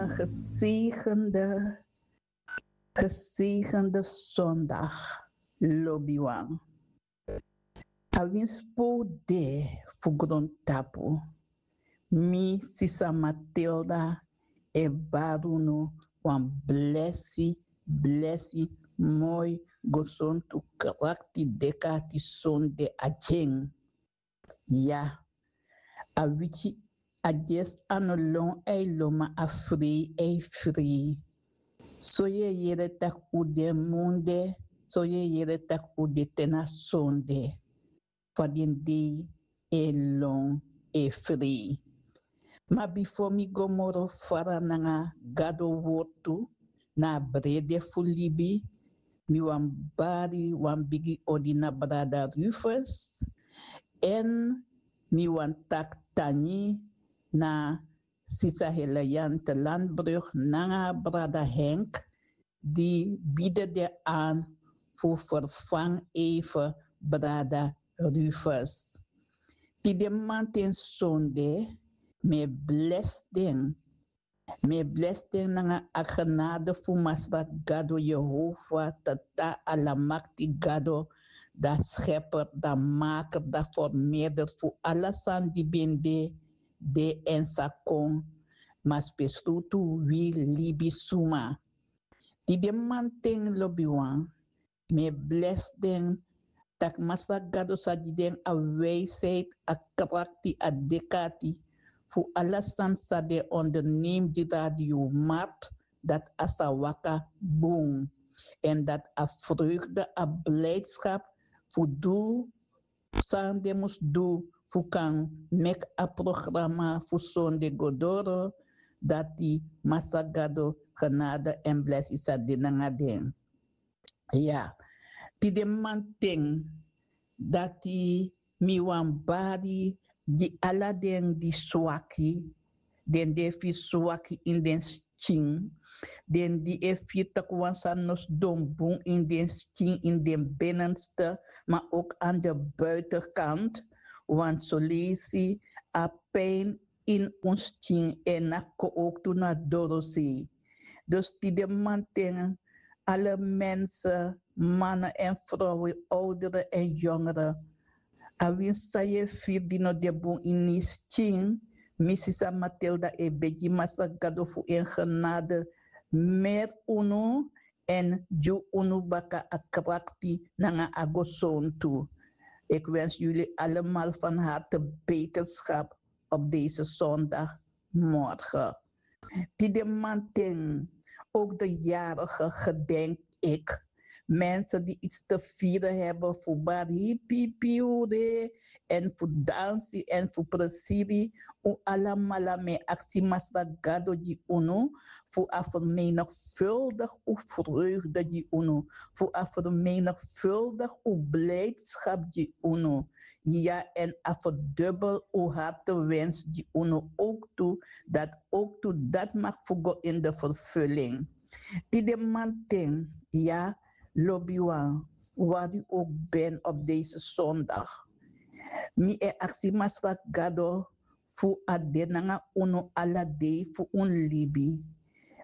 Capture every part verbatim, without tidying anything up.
Gezegende, gezegende zondag, lobiwan. A winsi fu de fu grontapu. Mi, sisa Matilda, e bari unu wan blesi, blesi, moi, gesontu, krakti, dek'ati sonde a dyen. Ya, a wiki, a dyesi a no lon, a e lon, ma a frei, a e frei. So yu e yere tak' un de munde, so yu e yere tak' un de te na sonde. Fa den dei e lon, e frei. Ma bifo mi go moro fara nanga Gado wortu na a brede fu libi, mi wani bari wan bigi odi na brada Rufus, èn mi wani taki tangi na sisa Heliante Landbrug nanga brada Henk, di bidi den an fu vervangi even brada Rufus. Tide mamanten sonde, mi e blesi den. Mi e blesi den nanga a genade fu Masra Gado Yehova, Tata Alamakti Gado, da Schepper, da Maker, da Formeerder fu ala sani di ben de, de èn sa kon, ma spesrutu wi libisuma. Tide mamanten, lobiwan, mi e blesi den, tak' Masra Gado sa gi den a wijsheid, a krakti, a dek'ati fu ala sani san den onderneem di Radio Mart, dati a sa waka bun. Èn dati a vreugde, a blijdschap fu du san den mus du fu kan meki a programa fu sonde go doro, dati Masra Gado genade èn blesi sa de nanga den. Ya, tide mamanten, dati mi wani bari gi ala den di swaki, den di e firi swaki ini den skin, den di e firi tak' wan sani no sidon bun ini den skin, ini den binnenste, ma ook aan de buitenkant, want soleisi a pijn ini un skin e naki kon ook tu na dorosei. Dus tide mamanten, alle mensen, mannen en vrouwen, ouderen en jongeren, a winsi san yu e firi di no de bun ini yu skin, mi, sisa Matilda, e begi Masra Gado fu en genade meri unu èn gi unu baka a krakti nanga a gesontu. Ik wens jullie allemaal van harte beterschap op deze zondagmorgen. Tide mamanten, ook de jarigen gedenk ik. Mensen die iets te vieren hebben, fu bari hipipi ure, èn fu dansi èn fu presiri. Un alamala, mi e aksi Masra Gado gi unu, fu a vermenigvuldig un vreugde gi unu, fu a vermenigvuldig un blijdschap gi unu. Ya, èn a verdubbel un hartewens gi unu ook tu, dat ook tu dat mag fu go in de vervulling. Tide mamanten, ya, lobiwan, waar u ook bent op deze zondag. Mi e aksi Masra Gado fu a de nanga unu ala dei fu un libi.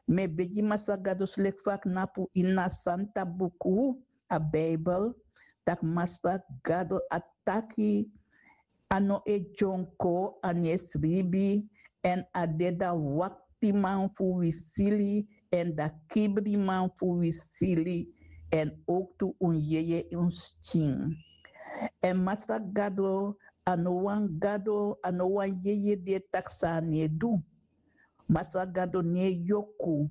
Mi e begi Masra Gado, so leki fa a knapu ini a santa buku, a Bijbel, tak' Masra Gado a taki, a no e dyonko, a no e sribi, èn a de da waktiman fu wi sili, èn da kibriman fu wi sili, èn ook tu un yeye un skin. Èn Masra Gado, a no wan Gado, a no wan yeye di e taki san a no e du. Masra Gado no e yoku.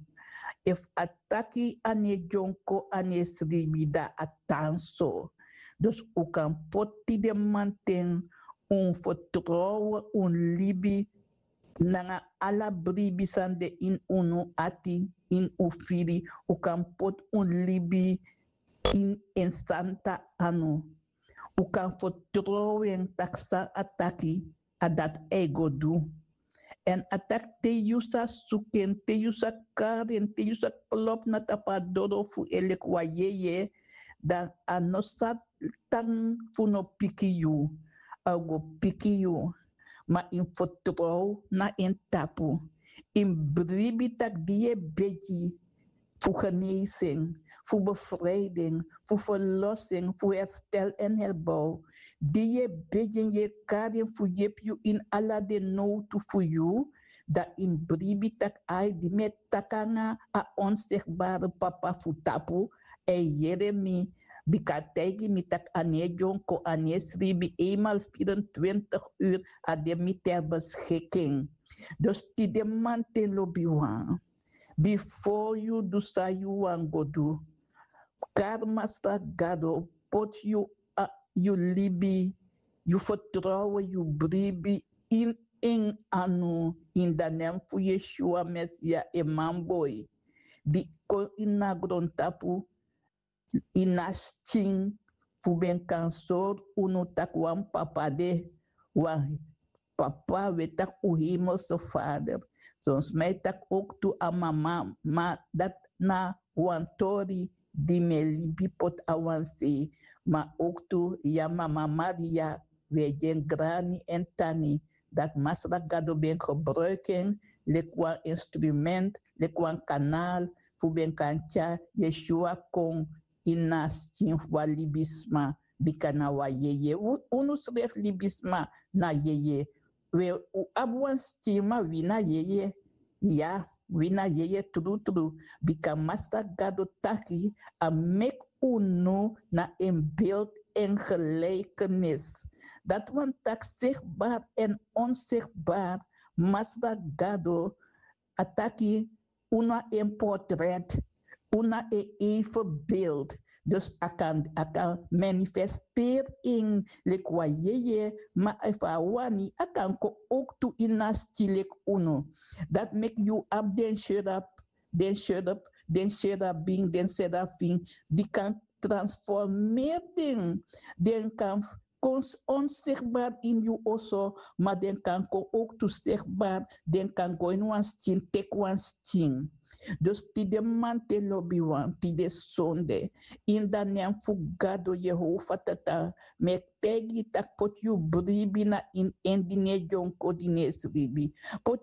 Efu a taki a no e dyonko, a no e sribi, da a tan so. Dus un kan poti den mamanten un vertrouwen, un libi, nanga ala bribi san de ini unu ati, ini un firi, un kan poti un libi ini en santa anu. Un kan vertrouwen tak' san a taki, a dati a e go du. Èn a taki te yu sa suku en, te yu sa kari en, te yu sa klopu na tapu a doro fu en leki wan yeye, dan a no sa tan fu no piki yu. A o go piki yu, ma yu mus vertrow na en tapu. Yu mus bribi tak' di yu e begi fu genesi en, fu befriji en, fu ferlosi en, fu herstel èn herbow. Di yu e begi en, yu e kari en fu yepi yu ini ala den nowtu fu yu, dan yu mus bribi tak' ai di mi e taki nanga a onsigbare papa fu tapu, e yere mi. Bika a taigi mi tak' a no e dyonko, a no e sribi, eenmaal vierentwintig uur a de mi ter beschikking. Dus tide manten lobiwan, bifo yu du san yu wani go du, kari Masra Gado, poti yu, a, yu libi, yu fertrouwen, yu bribi ini en anu, ini a nen fu Yeshua Mesia, en manboi di kon ini a grontapu ini a skin, fu ben kan sori unu tak' wan papa de, wan papa, we taki un hemelse Vader. Son sma e taki ook tu a mama, ma dati na wan tori di mi e libi poti a wan sei. Ma ook tu ya, mama Maria, we gi en grani èn tani, dati Masra Gado ben gebruik en leki wan instrument, leki wan kanaal, fu ben kan tyari Yeshua kon ini a skin fu wan libisma, bika na wan yeye. U, unu srefi libisma na yeye. We, un abi wan skin, ma wi na yeye. Ya, wi na yeye trutru. Bika Masra Gado taki a meki unu na en beeld en gelijkenis. Dati wani taki zichtbaar en onzichtbaar. Masra Gado, a taki unu na en portret, unu na en evenbeeld. Dus a kan, a kan manifesteri en leki wan yeye, ma efu a wani, a kan kon ook tu ini a skin leki unu. Dati meki yu abi den sherub, den sherub, den sherubim, den serafim, di kan transformeri den, den kan kon onzichtbaar ini yu oso, ma den kan kon ook tu zichtbaar, den kan go ini wan skin, teki wan skin. Dus tide manten lobiwan, tide sonde, ini a nen fu Gado Yehova Tata, mi e taigi yu tak' poti yu bribi na ini en di no e dyonko, di no e sribi. Poti